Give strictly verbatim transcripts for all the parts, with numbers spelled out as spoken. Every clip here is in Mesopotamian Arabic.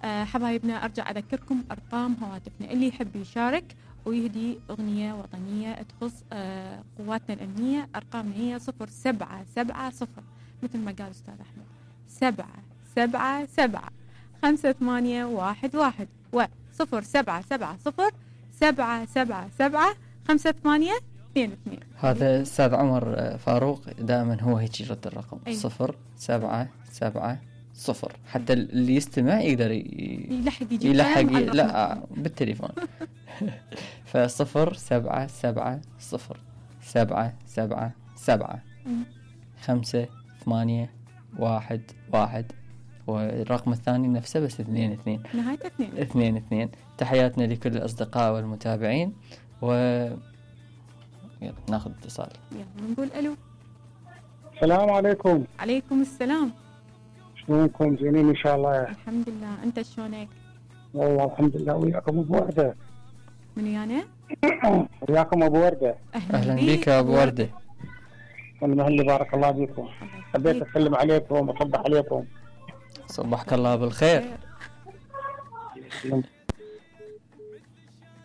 آه حبايبنا أرجع أذكركم أرقام هواتفنا، اللي يحب يشارك ويهدي أغنية وطنية تخص آه قواتنا الأمنية. أرقامنا هي صفر سبعة سبعة صفر مثل ما قال أستاذ أحمد، سبعة سبعة سبعة خمسة ثمانية واحد واحد، وصفر سبعة سبعة صفر سبعة سبعة سبعة خمسة ثمانية اثنين اثنين. هذا أستاذ عمر فاروق دائما هو هيك يرد الرقم. أيه. صفر سبعة سبعة صفر، حتى اللي يستمع يقدر ي... يلحق يجي يلحق ي... لا بالتليفون. فصفر سبعة سبعة صفر سبعة سبعة سبعة خمسة ثمانية واحد واحد، والرقم الثاني نفسه بس اثنين اثنين، نهايته اثنين اثنين اثنين. تحياتنا لكل الأصدقاء والمتابعين، و يلا ناخذ اتصال. يلا نقول ألو. السلام عليكم. عليكم السلام. شلونكم؟ زينين إن شاء الله. الحمد لله، أنت شلونك؟ والله الحمد لله. وياكم أبو وردة. من ويانا؟ وياكم أبو وردة. أهلا, أهلا بك أبو وردة. والمهلي بارك الله بكم. حبيت أسلم عليكم وأصبح عليكم. صبحك الله بالخير.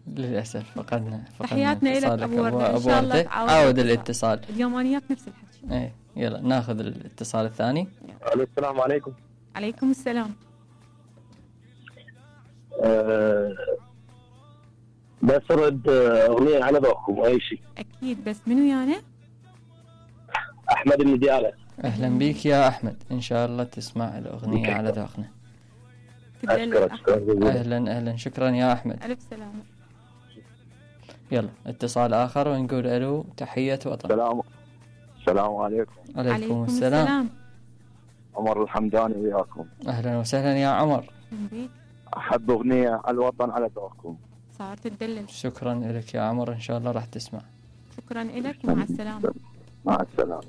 للأسف فقدنا فقدنا تحياتنا لك أبو وردة. إن شاء الله عاود الاتصال. اليوم أنا وياك نفس الحكي. إيه يلا ناخذ الاتصال الثاني. السلام عليكم. عليكم السلام. أه بس رد أغنية على ذوقكم أي شيء. أكيد، بس من ويانا؟ أحمد النديالة. أهلا بك يا أحمد، إن شاء الله تسمع الأغنية على ذوقنا. أهلا أهلا، شكرا يا أحمد. ألف سلامة. يلا اتصال آخر ونقول ألو. تحية وطن. سلام. السلام عليكم. عليكم, عليكم السلام. السلام. عمر الحمداني وياكم. أهلا وسهلا يا عمر. أحب أغنية الوطن على ذوقكم. صارت تدلل. شكرا لك يا عمر، إن شاء الله راح تسمع. شكرا لك، مع السلامة. مع السلامة.